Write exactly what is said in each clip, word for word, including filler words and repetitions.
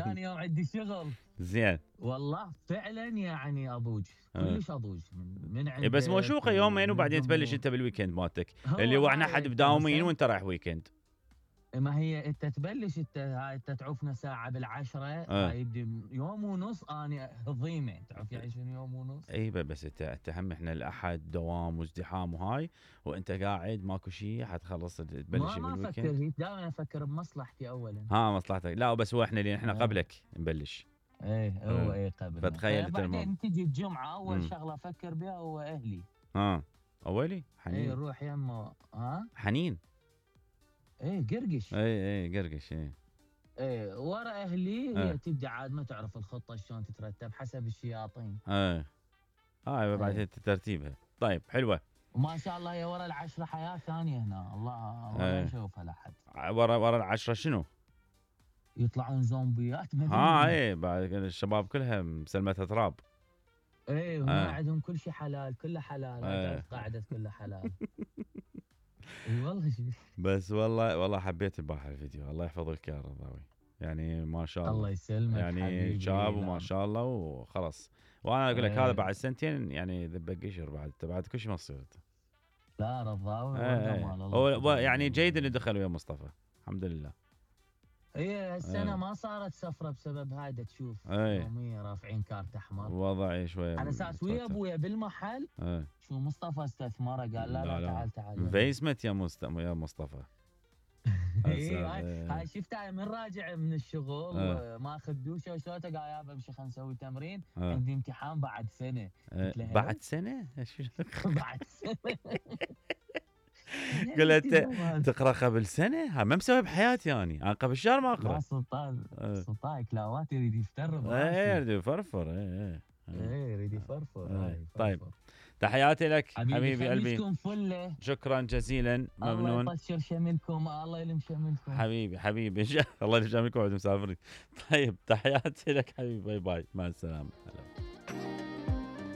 ثاني يوم عندي شغل. زين والله فعلا يعني اضوج كلش اضوج من من عندك. إيه بس موشوقه يومين وبعدين تبلش انت بالويكند مالتك اللي هو احنا حد مداومين وانت رايح ويكند. ما هي انت تبلش انت هاي انت تعوفنا ساعه بالعشره أه. هاي يوم ونص اني هضيمه تعرف يعني شنو يوم ونص. اي بس انت انت هم احنا الاحد دوام وازدحام وهاي وانت قاعد ماكو شيء حتخلص تبلش ما بالويكند. ما افكر دائما افكر بمصلحتي اولا. ها مصلحتك لا بس هو احنا اللي احنا قبلك نبلش. ايه هو ايه قبل. فتخيل انت بعدين تجي الجمعه اول مم. شغله افكر بها هو اهلي. ها اولي حنين. ايه نروح يمه ها حنين. ايه قرقش. اي اي قرقش اي. ايه ورا اهلي هي تبدا عاد ما تعرف الخطه شلون تترتب حسب الشياطين. ايه هاي بعد ايه. ترتيبها. طيب حلوه. وما شاء الله هي ورا العشره حياه ثانيه هنا الله ما نشوفها لحد. ورا ورا العشره شنو؟ يطلعون زومبيات مدنية. ها ايه بعد الشباب كلها مسلمتها تراب. ايه وما آه. عندهم كل شيء حلال كله حلال. آه. قاعدة كله حلال. اي والله بس والله والله حبيت البارحه الفيديو الله يحفظك يا رضاوي يعني ما شاء الله. الله يسلمك يعني شاب وما شاء الله وخلص وانا اقول لك ايه. هذا بعد سنتين يعني ذبك قشر بعد بعد كل شيء ما تصير. لا رضاوي ايه. هو يعني جيد اللي دخل ويا مصطفى الحمد لله. ايه هالسنه ايه. ما صارت سفره بسبب هذا تشوف ايه. يوميا رافعين كارت احمر وضعي شويه على اساس ويا ابويا بالمحل ايه. شو مصطفى استثمره قال لا لا, لا, لا تعال تعال انفيسمنت يا مست... يا مصطفى. ايه هاي شفتها من راجع من الشغل اه. ماخذ دوشه وشوته قال يابا امشي خلينا نسوي تمرين اه. عندي امتحان بعد سنه اه. بعد سنه؟ بعد سنه قلت تقرا قبل سنه؟ ها ما مسوي بحياتي يعني انا قبل شهر ما اقرا. سلطان سلطان كلاوات يريد يفتر. ايه يريد يفرفر. ايه ايه يريد يفرفر. طيب تحياتي لك حبيبي قلبي. فله. شكرا جزيلا ممنون. الله يطشر شملكم الله يلم شملكم حبيبي حبيبي الله يلم شملكم وعد مسافرين. طيب تحياتي لك حبيبي باي باي مع السلامه.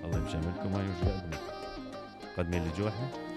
الله يلم شملكم. هاي وش قدمي اللي جوا احنا